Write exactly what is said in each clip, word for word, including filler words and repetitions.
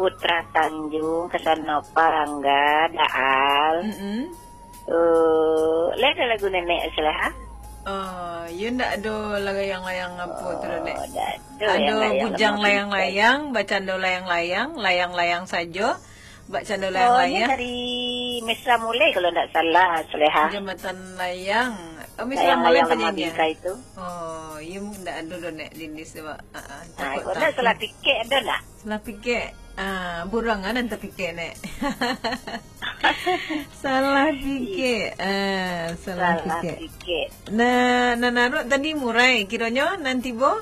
Putra Tanjung, Kasanova, Rangga, Daal. Mm-mm. Eh, lai ado lagu Nenek Saleha? Oh, yo ndak ado layang-layang apo tu, Nek? Oh, ndak ado. Ado layang-layang Bujang Layang-Layang, Bacando Layang-Layang, Layang-Layang Sajo, Bacando Oh, ini Layang-Layang. Dari Mesra Mulai kalau ndak salah, Saleha. Jambatan Layang. Oh, Mesra Mulai Layang-layang lama penyanyi. Bingkai tu. Oh, yo ndak ado doh, Nek, di list tu, Pak. Ah, ah, Ah, takut, kok ndak takut. Salah pikir ado ndak? Salah pikir, ah, burang ah nan tapikir, Nek. Salah pikir, ah, salah Salah pikir. Pikir. Nah, nan Arok tadi murai, kironyo nan tibo.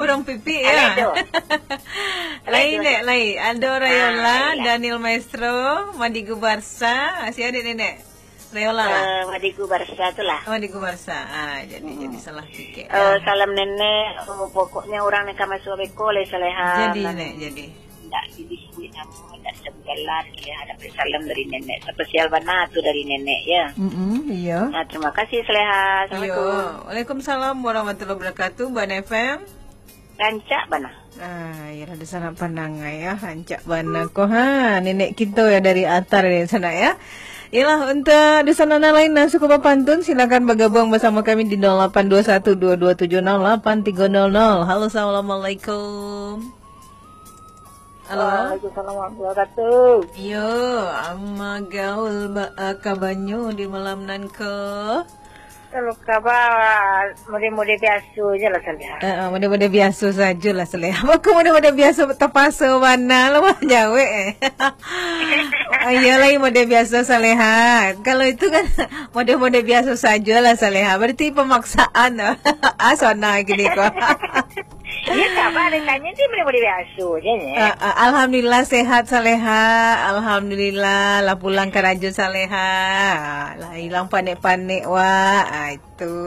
Urang pipik, Alai ya? Tu. Alai Lain, tu. Nek, lain. Ado Rayola, Ah, iya. Daniel Maestro, Madigu Barsa. Sia dek Nenek? Rayola lah. Eh, Madigu Barsa tu lah. Oh, Madigu Barsa. Ah, jadi, Hmm. jadi salah pikir. Eh, Ya. Salam Nenek. Oh, pokoknya urang nan ka masuak beko lai Saleha. Jadi, Nan Nek, jadi. Ndak disabuik namo, ndak disabuik jalan, Saleha dapek salam dari Nenek. Spesial bana tu dari Nenek, ya. Mm-mm, iya. Nah, terima kasih, Saleha. Assalamualaikum. Iya. Waalaikumsalam warahmatullahi wabarakatuh, Bana F M. Rancak bana. Ah, iyalah, di sana pandang, ya, rancak bana ko. Ha, nenek kito, ya, dari Atar di sana, ya. Iyalah, untuk di sana nan lain nan suko bapantun, silakan bergabung bersama kami di nol lapan dua satu dua dua tujuh nol lapan tiga nol nol. Halo, assalamualaikum. Halo. Waalaikumsalam warahmatullahi wabarakatuh. Iyo, ama gaul ba-, ah, kabanyo di malam nan ko? Kalau kaba, mode-mode biaso je lah, Saleha. Eh, eh, mode-mode biaso sajo lah, Saleha. Mako mode-mode biaso tapaso bana lah, wah, jawek, eh. Oh, iyo lai mode biaso, Saleha. Kalau itu kan mode-mode biaso sajo lah, Saleha. Berarti pemaksaan. Ah, sona gini ko. Iyo, kaba ditanya ti mode-mode biaso je, Nek. Ah, ah, alhamdulillah sehat, Saleha. Alhamdulillah, lah pulang karajo, Saleha. Lah ilang panek-panek, wak. Ah, itu.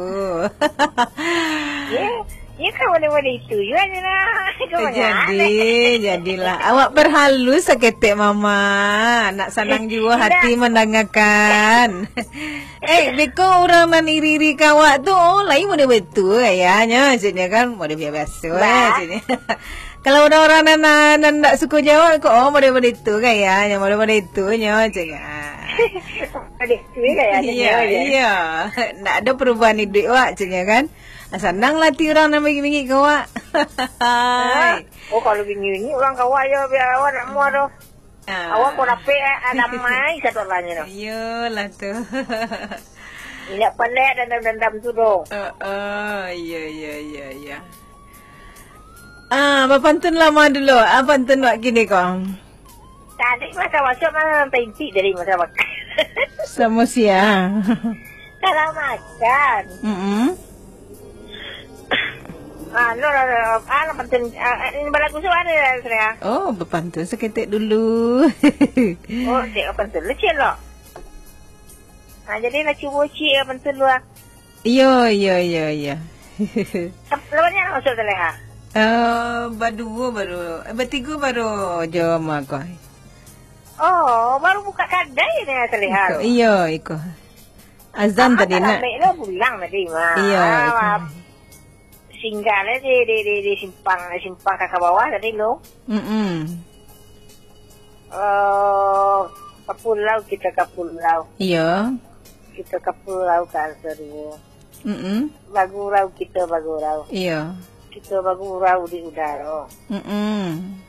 Iyo, iyo kan mode-mode itu. Iyo aja lah. Kau Eh, banyak. Jadi, jadilah. Awak perhalus saketek, Mama. Nak sanang juo Indak. Hati mandangakan. Eh, beko urang nan iri-iri ka awak tu, oh, lain mode baitu, ya, nyo, maksudnyo kan, mode biaso, Bah. Maksudnyo. Kalau urang-urang nan, nan, nan ndak suko jo awak ko, oh, mode-mode itu, kan, ya, nyo, mode-mode itu, nyo, maksudnyo. Mode itu, kan, ya, Iya, nyo, ya. Iya. Ndak ado perubahan iduik awak, maksudnyo, kan. Ah, sanang lah ati urang nan bingik-bingik ka awak. Hah? Oh, kalau bingik-bingik urang ka awak, yo, biar awak nak mua tu. Ah. Awak ko dapek, eh, ah, damai, satu lahnyo tu. Iyolah tu. Indak pandai dendam-dendam tu doh. Oh, oh, iya, iya, iya, iya. Ah, bapantun lama dulu. Ah, pantun wak kini ko. Tadi masa masuk, masa taintik dari masa makan. Sama siang. Salah makan. Mm-mm. Ah, no, no, no, no. Ah, no, pantun. Ah, ah, ini balagu suara ya, saya. Oh, bapantun saketek dulu. Oh, cek pantun lu, cek lo. Ah, jadi nak cubo cek pantun lu, ah. Iyo, iyo, iyo, iyo. Lawannya masuk Saleha. Eh, baduo baru, eh, batigo baru jo ama ko. Oh, baru buka kadai ni Saleha Iko, tu. Iyo, iko. Azan Ah, tadi tak nak. Lambek lo pulang tadi, Ma. Iyo, Ah, iko. Singgah lah di, di, di, di simpang, di simpang ka bawah tadi lo. Mm-mm. Eh, ka pulau, kita ka pulau. Iyo. Kita ka pulau ka angsa duo. Mm-mm. Bagurau kita bagurau. Iyo. Kita bagurau di udaro. Mm-mm.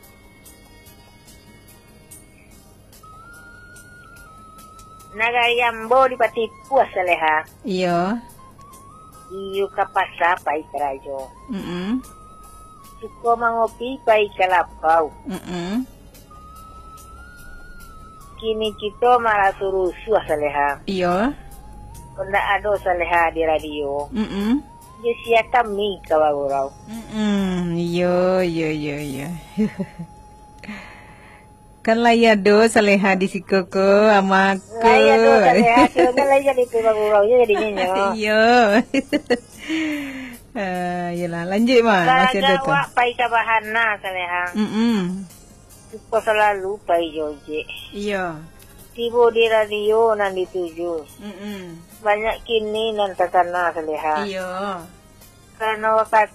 Nagari ambo di Patipuah, Saleha. Iyo. Iyo ka pasa pai karajo. Mm-mm. Suko mangopi pai ka lapau. Mm-mm. Kini kito maraso rusuah, Saleha. Iyo. Ndak ado Saleha di radio. Mm-mm. Yo sia kami ka bagurau. Mm-mm. Iyo, iyo, iyo, iyo. Kan lai ado Saleha di siko ko, ama ko. Lai ado Saleha, kiro kan lai jadi tu bagurau je jadinyo nyo. Iyo. Ah, iyolah, lanjut, Ma. Masih ado tu. Awak pai ka bahana, Saleha. Mm-mm. Suko salalu pai jo ojek. Iyo. Tibo di radio nan dituju. Mm-mm. Banyak kini nan takana, Saleha. Iyo. Karano wakatu